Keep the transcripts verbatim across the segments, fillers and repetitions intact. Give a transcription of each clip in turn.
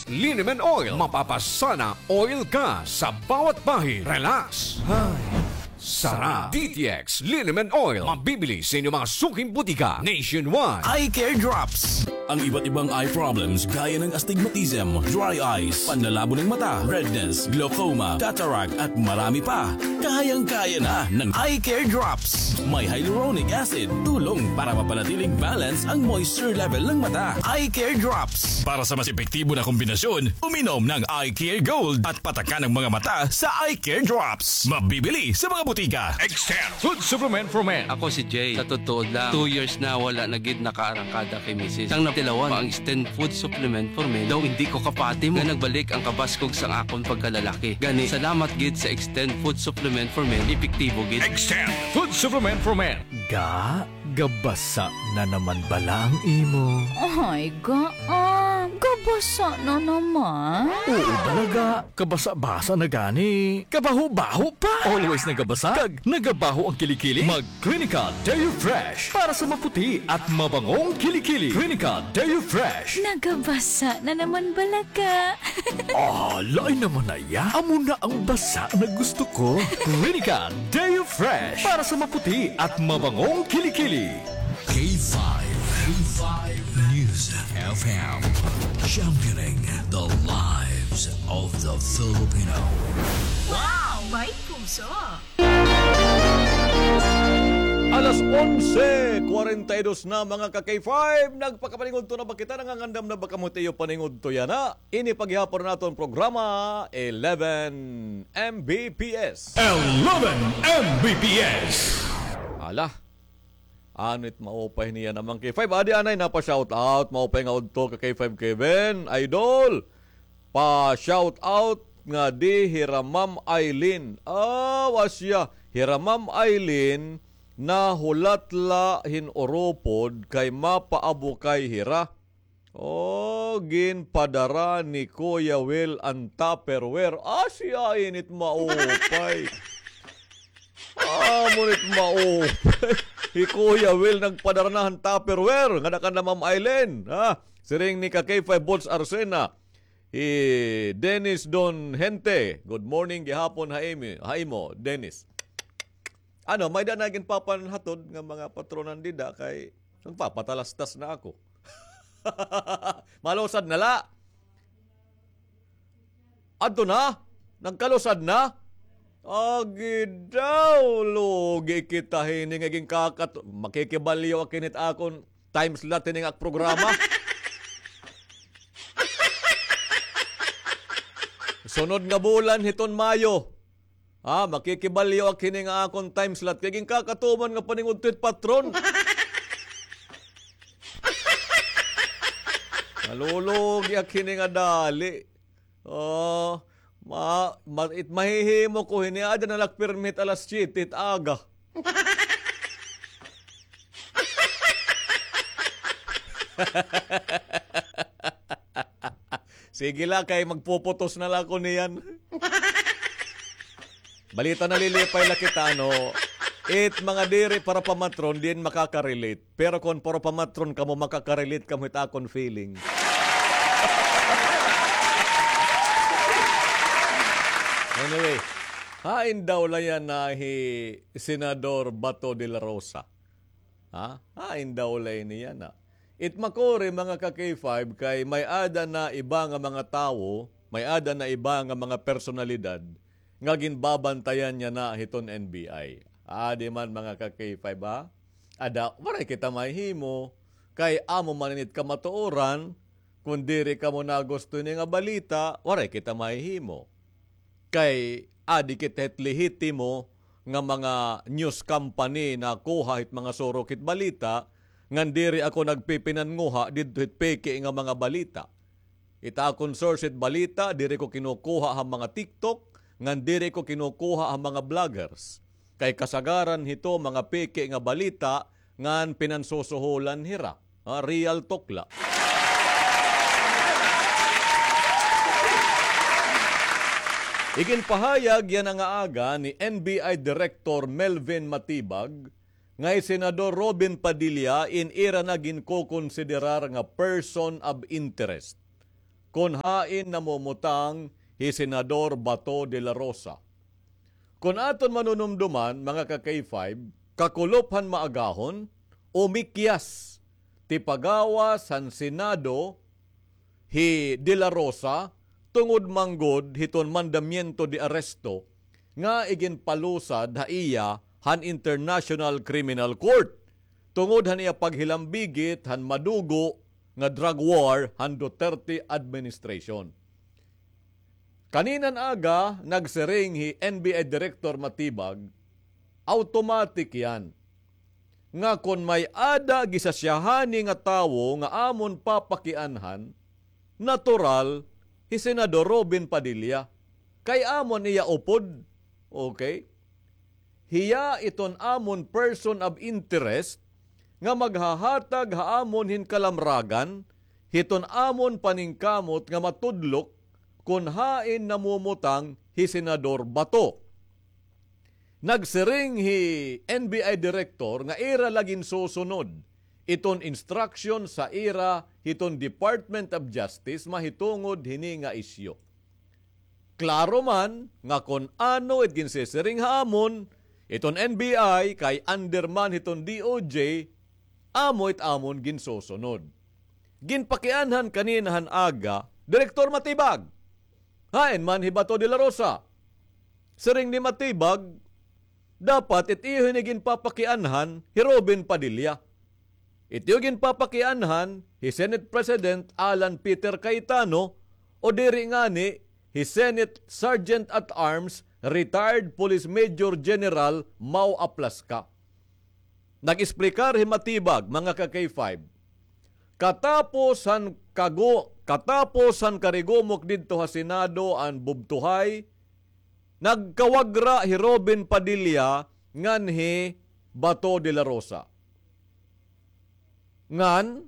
Liniment Oil. Mapapasana oil ka sa bawat bahid. Relax. Ay, sarap. D T X Liniment Oil. Mabibili sa inyong mga suking butika nationwide. Eye Care Drops. Ang iba't ibang eye problems gaya ng astigmatism, dry eyes, panlalabo ng mata, redness, glaucoma, cataract, at marami pa. Kayang-kaya na ng Eye Care Drops. May hyaluronic acid, tulong para mapanatiling balance ang moisture level ng mata. Eye Care Drops. Para sa mas epektibo na kombinasyon, uminom ng Eye Care Gold at patakan ang mga mata sa Eye Care Drops. Mabibili sa mga butika. Extend Food Supplement for Men. Ako si Jay. Sa totoo lang, two years na wala na gid nakaarangkada kay misis. Sang natilawan pa ang Extend Food Supplement for Men, daw hindi ko kapati mo nga nagbalik ang kabaskog sang akon pagkalalaki. Gani, salamat gid sa Extend Food Supplement for Men. Epektibo gid. Extend Food Supplement for Men. Ga, gabasa na naman bala ang imo? Ay, ga, ah, gabasa na naman. Oo, balaga. Kabasa-basa na gani. Kabaho-baho pa. Always nagabasa. Kag nagabaho ang kilikili. Mag Clinica Deo Fresh para sa maputi at mabangong kilikili. Clinica Deo Fresh. Nagabasa na naman balaga. Ah, lain naman na iya. Amo na ang basa na gusto ko. Clinica Deo Fresh para sa maputi at mabangong kilikili. K five, K five News F M, championing the lives of the Filipino. Wow! May puso! Alas onse kwarenta y dos na, mga ka-K five. Nagpakapaningudto na ba kita? Nangangandam na ba kamo hit iyo paningudto yana? Ini pa gihapon an aton programa, eleven M B P S. Eleven M B P S. Hala. Ano it maupay niya naman, K five? Adi anay, napa-shout out. Maupay nga udto ka, K five Kevin. Idol, pa-shout out ngadi hira Ma'am Eileen. Ah, wa siya. Hira Ma'am Eileen, nahulat la hin uropod kay mapaabukay hira. O, ginpadara ni Kuya Will an Tupperware. Ah, siya ini it maupay. Ah, amo ini it maupay. Hi Kuya Will nagpadara na han Tupperware. Ngada kanla Ma'am Eileen, ha? Siring ni ka K five Bots Arsena. Hi Dennis Don Hente. Good morning gihapon ha imi, ha imo, Dennis. Ano, may-ada na ginpapanhatod nga mga patronan dida kay nagpapatalastas na ako. Malusad na la. Adto na? Nagkalusad na? Agi daw, lugi kita hini nga ginkakato-, makikibalyo ak hini hit akon time slot hini nga ak programa. Sunod nga bulan hiton Mayo. Ha, makikibalyo ak hini nga akon time slot kay ginkakatuman nga paningudto hit patron. Nalulugi ak hini nga dali. Oh, ma, ma, it mahihimo ko hini, ada na la ak pirmi hit alas siyete hit aga. Sige la, kay magpuputos na la ako niyan. Balita, nalilipay la kita, no? It mga diri para pamatron, diin makaka-relate. Pero kon para pamatron kamo, makaka-relate kamo hit akon feeling. Anyway, hain daw la yana hi Senador Bato de la Rosa. Ha? Hain daw la ini yana. It makuri, mga ka-K five, kay may-ada na iba nga mga tawo, may-ada na iba nga mga personalidad nga ginbabantayan niya na hiton N B I. Adi man, mga ka-K five, ha? Ada, waray kita mahihimo, kay amo man ini it kamatuoran, kon diri kamo nagusto ini nga balita, waray kita mahihimo. Kay adi kita hit lehitimo nga mga news company nakuha hit mga surok hit balita, ngan diri ako nagpipinanguha didto hit peke nga mga balita. It akon source hit balita, diri ko kinukuha ha mga TikTok, ngan diri ko kinukuha ha mga vloggers. Kay kasagaran hito mga peke nga balita, ngan pinansusuholan hira. Ah, real talk la. Iginpahayag yana nga aga ni N B I Director Melvin Matibag nga hi Senador Robin Padilla in ira na ginkokonsiderar nga person of interest. kon hain namumutang hi Senador Bato de la Rosa. Kon aton manunumduman, mga ka-K five, kakulop han maagahon, umikyas ti pagawas han Senado hi De La Rosa tungod man gud hiton mandamiento de arresto nga iginpalusad ha iya han International Criminal Court tungod han iya paghilambigit han madugo nga drug war han Duterte administration. Kaninan aga, nagsiring hi N B I Director Matibag, automatic yan nga kon may-ada gisasiyahani nga tawo nga amon papakianhan, natural, hi Senador Robin Padilla. Kay amon iya upod. Okay? Hiya iton amon person of interest nga maghahatag ha amon hin kalamragan hiton amon paningkamot nga matudlok kon hain namumutang hi Senador Bato. Nagsiring hi N B I Director nga ira la ginsusunod iton instruction sa ira hiton Department of Justice mahitungod hini nga isyu. Klaro man nga kon ano it ginsisiring ha amon iton N B I kay under man hiton D O J, amo it amon ginsusunod. Ginpakianhan kanina han aga, Direktor Matibag. Hain man hi Bato de la Rosa. Siring ni Matibag, dapat it iyo hini ginpapakianhan hi Robin Padilla. It iyo ginpapakianhan hi Senate President Alan Peter Cayetano o diri ngani hi Senate Sergeant at Arms, retired Police Major General Mau Aplasca. Nag-explicar hi Matibag, mga ka-K five. Katapos han kagu-, katapos han karigumok didto ha Senado an bubtuhay, nagkawagra hi Robin Padilla ngan hi Bato de la Rosa. Ngan,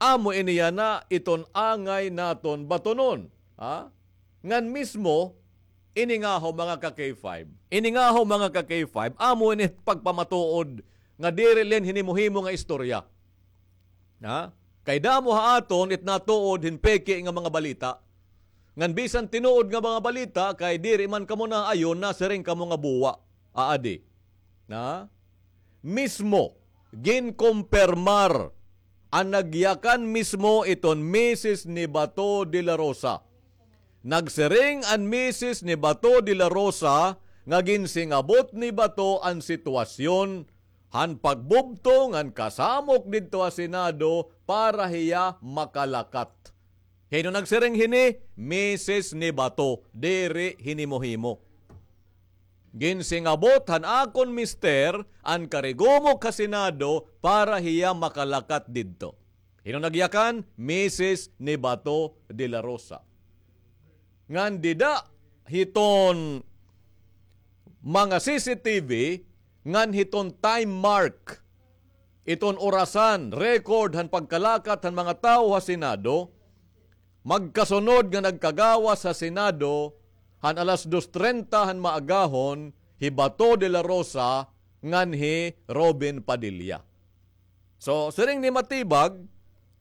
amo ini yana iton angay naton batonon. Ha? Ngan mismo, ini ngahaw mga ka-K five. Ini ngahaw mga ka-K five, amo ini pagpamatuod nga diri la hin hinimo-himo nga istorya. Ha? Kay damo ha aton it natuod hin peke nga mga balita. Ngan bisan tinuod nga mga balita, kay diri man kamo naayon, nasiring kamo nga buwa. Aadi. Na? Mismo, ginkompermar an nagyakan mismo iton misis ni Bato de la Rosa. Nagsiring an misis ni Bato de la Rosa nga ginsingabot ni Bato an sitwasyon han pagbubto ngan kasamok didto ha Senado para hiya makalakat. Hin-o nagsiring hini? Misis ni Bato, diri hinimo-himo. Ginsingabot han akon mister an karigumok ha Senado para hiya makalakat didto. Hin-o nagyakan? Misis ni Bato de la Rosa. Ngan dida hiton mga C C T V, ngan hiton time mark, iton orasan, record han pagkalakat han mga tawo ha Senado, magkasunod nga nagkagawas ha Senado han alas dos trenta han maagahon hi Bato de la Rosa ngan hi Robin Padilla. So, siring ni Matibag,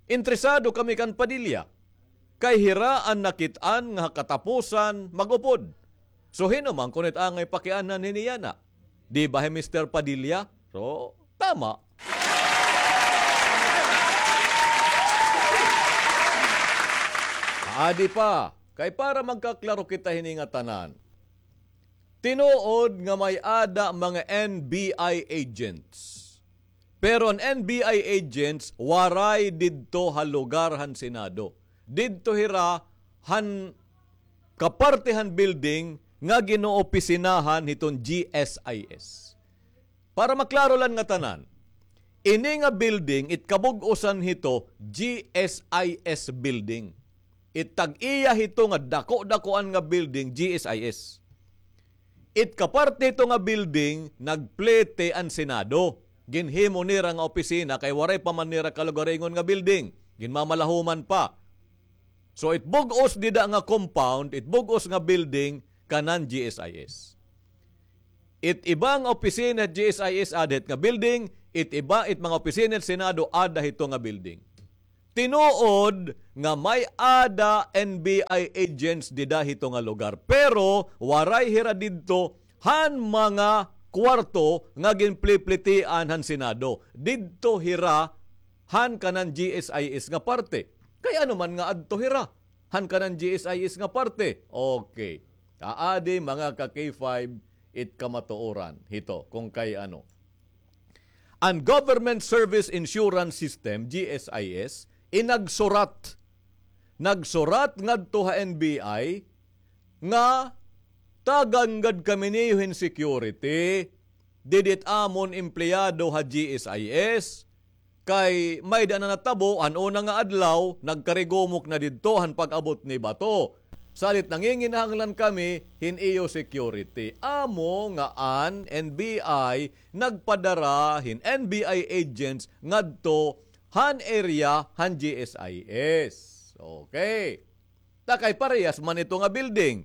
interesado kami kan Padilla. Kay hira an nakit-an nga ha katapusan mag-upod. So, hin-o man kuno it angay pakianhan hini yana? Di ba hi Mister Padilla? So, tama. Adi pa, kay para magkaklaro kita hini ngatanan. Tinuod nga may-ada mga N B I agents. Pero an N B I agents waray didto ha lugar han Senado. Didto hira han kaparte han building nga ginoobisinahan hiton G S I S. Para maklaro la ngatanan, ini nga building, it kabug-osan hito, G S I S building. It tag-iya hito nga dako-dakoan nga building, G S I S. It kaparte hito nga building, nagplete an Senado. Ginhimo nira nga opisina kay waray pa man nira kalugaringon nga building. Ginmamalahuman pa. So, it bug-os dida nga compound, it bug-os nga building, kanan G S I S. It iba nga opisina hit G S I S ada hit nga building, it iba, it mga opisina hit Senado ada hito nga building. Tinuod nga may-ada N B I agents dida hito nga lugar, pero waray hira didto han mga kwarto nga ginpliplitian han Senado. Didto hira han kanan G S I S nga parte. Kay ano man nga adto hira han kanan G S I S nga parte? Okay. Aadi, mga ka-K five, it kamatuoran hito kung kay ano. An Government Service Insurance System, G S I S, inagsurat. Nagsurat ngadto ha N B I nga tagan gad kami niyo hin security. Didi it amon empleyado ha G S I S. Kay may-ada na natabo, han una nga adlaw, nagkarigumok na didto han pag-abot ni Bato. Salit nanginginahanglan kami hin iyo security. Amo nga an N B I nagpadara hin N B I agents ngadto han area han G S I S. Okay. Ta kay parehas man ito nga building.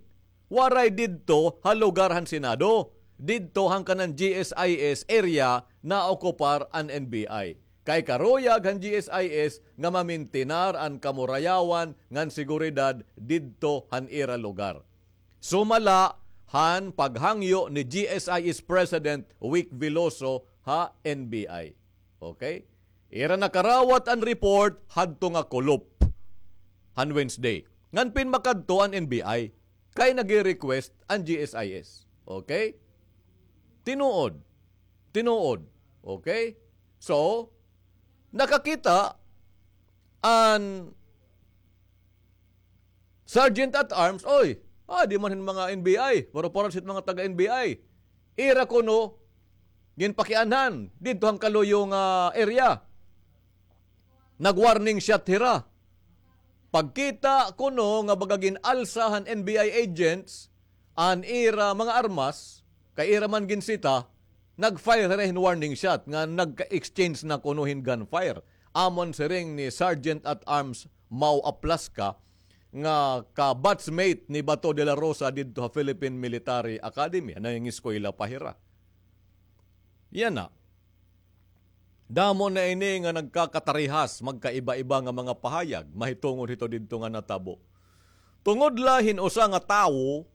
Waray didto ha lugar han Senado. Didto han kanan G S I S area naokupar an N B I. Kay karuyag han G S I S nga mamintinar an kamurayawan ngan seguridad didto han ira lugar. Sumala han paghangyo ni G S I S President Wick Veloso ha N B I. Okay? Ira nakarawat an report hadto nga kulop han Wednesday. Ngan pinmakadto an N B I kay nagre-request an G S I S. Okay? Tinuod. Tinuod. Okay? So, nakakita an Sergeant at Arms, oy, ah, di man hin mga N B I, pero para sa mga taga-N B I. Ira kuno ginpakianhan didto han kaluyo nga area. Nag-warning shot hira. Pagkita kuno nga baga gin-alsa han N B I agents an ira mga armas, kay ira man ginsita, nag-fire hira hin warning shot nga nagka-exchange na kuno hin gunfire. Amon siring ni Sergeant at Arms Mau Aplasca nga ka-batchmate ni Bato de la Rosa didto ha Philippine Military Academy. Nangingeskwela pa hira. Yana. Damo na ini nga nagkakatarihas, magkaiba-iba nga mga pahayag mahitungod hito didto nga natabo. Tungod la hin usa nga tawo,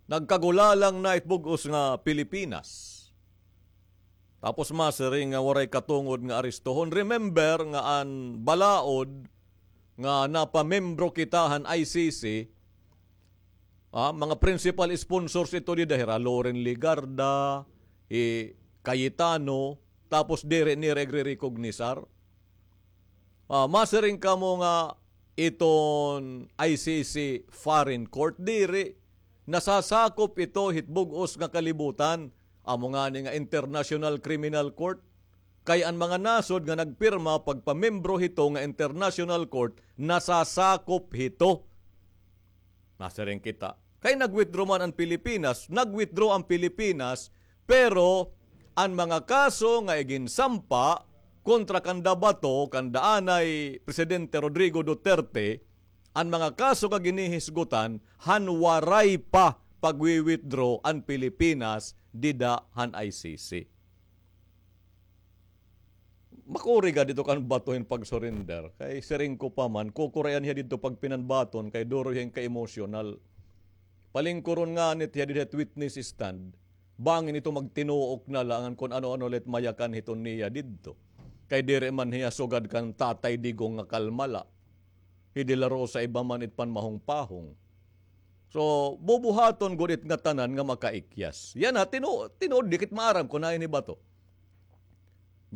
nagkagulalang na it bug-os nga Pilipinas. Tapos masiring nga waray katungod nga arestohon. Remember nga an balaod nga napamembro kita han I C C, ah, mga principal sponsors ito dida, hira Loren Legarda, hi Cayetano, tapos diri nira igre-recognisar. Ah, masiring kamo nga iton I C C foreign court, diri. Nasasakop ito hit bug-os nga kalibutan. Amo ngani nga International Criminal Court. Kay an mga nasod nga nagpirma pagpamembro hito nga International Court, nasasakop hito. Masiring kita. Kay nag-withdraw man an Pilipinas, nag-withdraw an Pilipinas, pero an mga kaso nga iginsampa kontra kanda Bato, kanda anay Presidente Rodrigo Duterte, an mga kaso nga ginihisgutan, han waray pa pagwi-withdraw an Pilipinas dida han I C C. Makuri gad ito kan Bato hin pag-surrender. Kay siring ko pa man, kukurayan hiya didto pagpinanbaton kay duro hiya hin ka-emosyonal. Palingkuron ngani it hiya dida hit witness stand. Bangin ito magtinuok na la ngan kon ano-ano la it mayakan hiton niya didto. Kay diri man hiya sugad kan Tatay Digong nga kalma la. Hi De La Rosa iba man it panmahongpahong. So, bubuhaton gud it ngatanan nga makaikyas. Yana, tinu-, tinuod, dikit maaram kon hain hi Bato.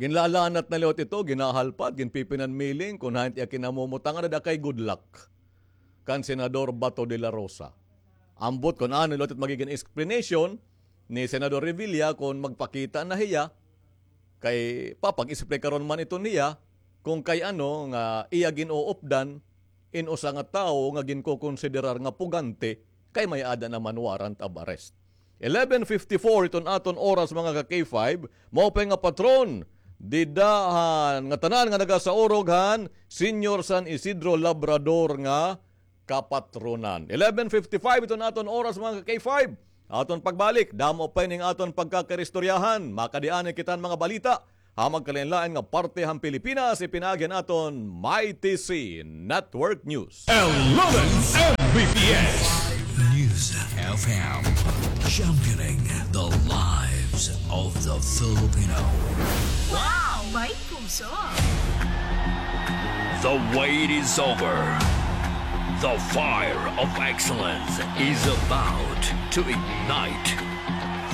Ginlalanat na liwat ito, ginahalpat, ginpipinanmiling, kon hain it iya kinamumutangan, ada kay good luck kan Senador Bato de la Rosa. Ambot kon ano liwat it magigin explanation ni Senador Revilla kon magpakita na hiya, kay papag-explikaron man ito niya, kon kay ano nga iya gin-uupdan in usa nga tawo nga ginkokonsiderar nga pugante kay may-ada naman warrant of arrest. Eleven fifty-four iton aton oras, mga ka-K five, maupay nga patron dida han ngatanan nga nagasaurog han Senior San Isidro Labrador nga kapatronan. Eleven fifty-five iton aton oras, mga ka-K five. Aton pagbalik, damo pa ini nga aton pagkakaristoryahan. Makadi anay kita han mga balita Ha magkalain-lain nga parte han Pilipinas, ipinaagi han aton Mighty C Network News. Eleven M B P S News F M, championing the lives of the Filipino. Wow! May puso! The wait is over. The fire of excellence is about to ignite.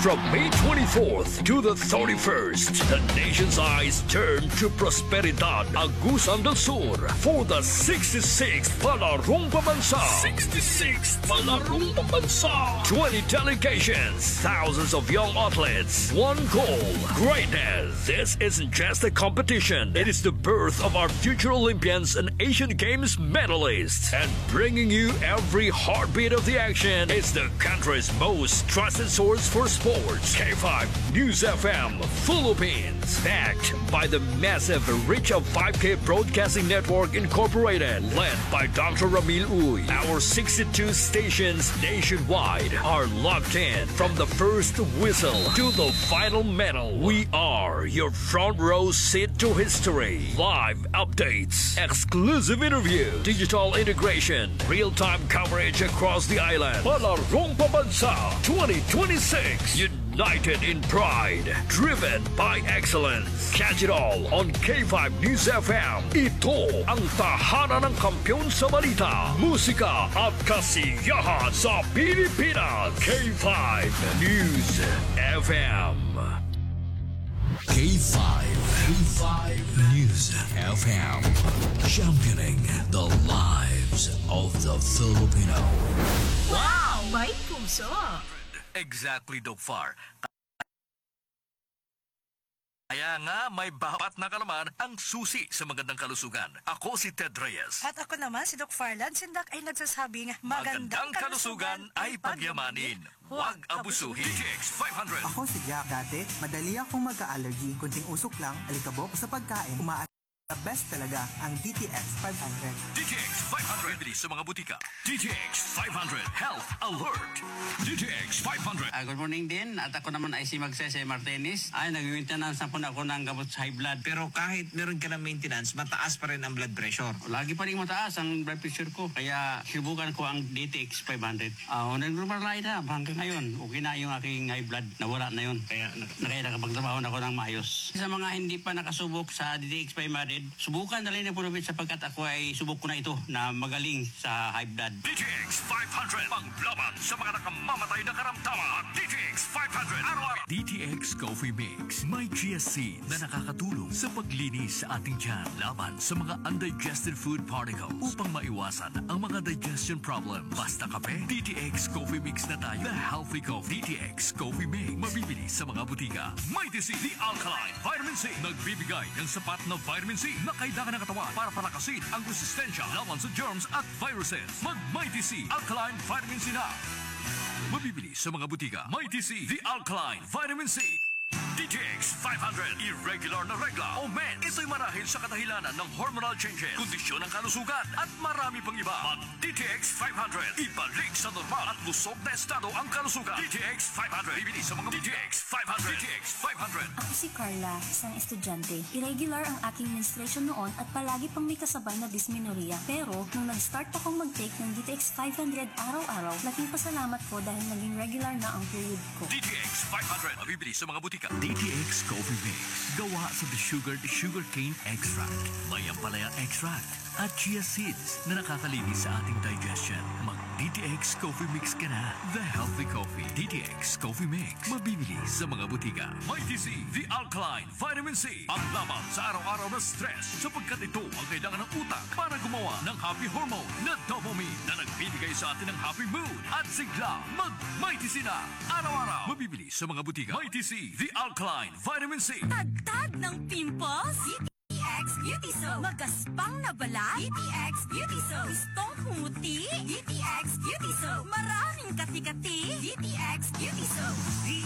From May twenty-fourth to the thirty-first, the nation's eyes turn to Prosperidad, Agusan del Sur, for the sixty-sixth Palarong Pambansa. Sixty-sixth Palarong Pambansa. Twenty delegations, thousands of young athletes, one goal, greatness. This isn't just a competition. It is the birth of our future Olympians and Asian Games medalists. And bringing you every heartbeat of the action is the country's most trusted source for sports, K five News F M Philippines. Backed by the massive reach of Five K Broadcasting Network Incorporated, led by Doctor Ramil Uy. Our sixty-two stations nationwide are locked in. From the first whistle to the final medal, we are your front row seat to history. Live updates, exclusive interview, digital integration, real-time coverage across the island. Palarong Pambansa twenty twenty-six, united in pride, driven by excellence. Catch it all on K five News F M. Ito ang tahanan ng kampiyon sa balita, musika at kasiyahan sa Pilipinas. K five News F M. K five, K five News F M, championing the lives of the Filipino. Wow! May puso! Exactly, Doc Far. Kaya nga, may bapat na kalaman ang susi sa magandang kalusugan. Ako si Ted Reyes. At ako naman si Doc Farlan. Sindak ay nagsasabing, magandang kalusugan ay pagyamanin. Huwag abusuhin. D T X five hundred. Ako si Jack. Dati, madali akong magka-allergy. Kunting usok lang, alikabok sa pagkain, umaat-, the best talaga ang D T X five hundred. D T X five hundred. Bibili sa mga butika. D T X five hundred Health Alert. D T X five hundred. Ah, good morning din. At ako naman ay si Magsese Martinez. Ay, nag-maintenance na po na ako ng gamot sa high blood. Pero kahit meron ka ng maintenance, mataas pa rin ang blood pressure. Lagi pa rin mataas ang blood pressure ko. Kaya sinubukan ko ang D T X five hundred. Ah, nag-normal na ito hanggang ngayon. Okay na yung aking high blood. Nawala na yun. Kaya na, kaya nakapagtrabaho na ako ng maayos. Sa mga hindi pa nakasubok sa D T X five hundred, subukan na rin ang Pulupit sapagkat ako ay subok ko na ito na magaling sa high blood. D T X five hundred, panglaban sa mga nakamamatay na karamdaman. D T X five hundred, araw-araw. D T X Coffee Mix. May chia seed na nakakatulong sa paglinis sa ating tiyan laban sa mga undigested food particles upang maiwasan ang mga digestion problem. Basta kape, D T X Coffee Mix na tayo. The Healthy Coffee. D T X Coffee Mix. Mabibili sa mga butika. Mighty C, the alkaline vitamin C. Nagbibigay ng sapat na vitamin C na kailangan ng katawan para palakasin ang resistensya laban sa germs at viruses. Mag Mighty C, alkaline vitamin C na. Mabibili sa mga butika. Mighty C, the alkaline vitamin C. D T X five hundred, irregular na regla o mens. Ito'y marahil sa kadahilanan ng hormonal changes, kondisyon ng kalusugan, at marami pang iba. Mag D T X five hundred, ibalik sa normal at lusog na estado ang kalusugan. D T X five hundred, bibili sa mga D T X five hundred. D T X five hundred. Ako si Carla, isang estudyante. Irregular ang aking menstruation noon at palagi pang may kasabay na dysmenorrhea. Pero nung nag-start akong mag-take ng D T X five hundred araw-araw, laking pasalamat ko dahil naging regular na ang period ko. D T X five hundred, mabibili sa mga butika. D T X Coffee Mix, gawa sa desugared sugarcane extract, may ampalaya extract, at chia seeds na nakakalinis sa ating digestion. Mag D T X Coffee Mix ka na. The Healthy Coffee. D T X Coffee Mix. Mabibili sa mga butika. Mighty C, the alkaline vitamin C. Panglaban sa araw-araw na stress, sapagkat ito ang kailangan ng utak para gumawa ng happy hormone na dopamine na nagbibigay sa atin ng happy mood at sigla. Mag Mighty C na araw-araw. Mabibili sa mga butika. Mighty C, the alkaline vitamin C. Tagtag ng pimples? D T X Beauty Soap. Magaspang na balat? D T X Beauty Soap. Gustong pumuti? D T X Beauty Soap. Maraming kati-kati? D T X Beauty Soap.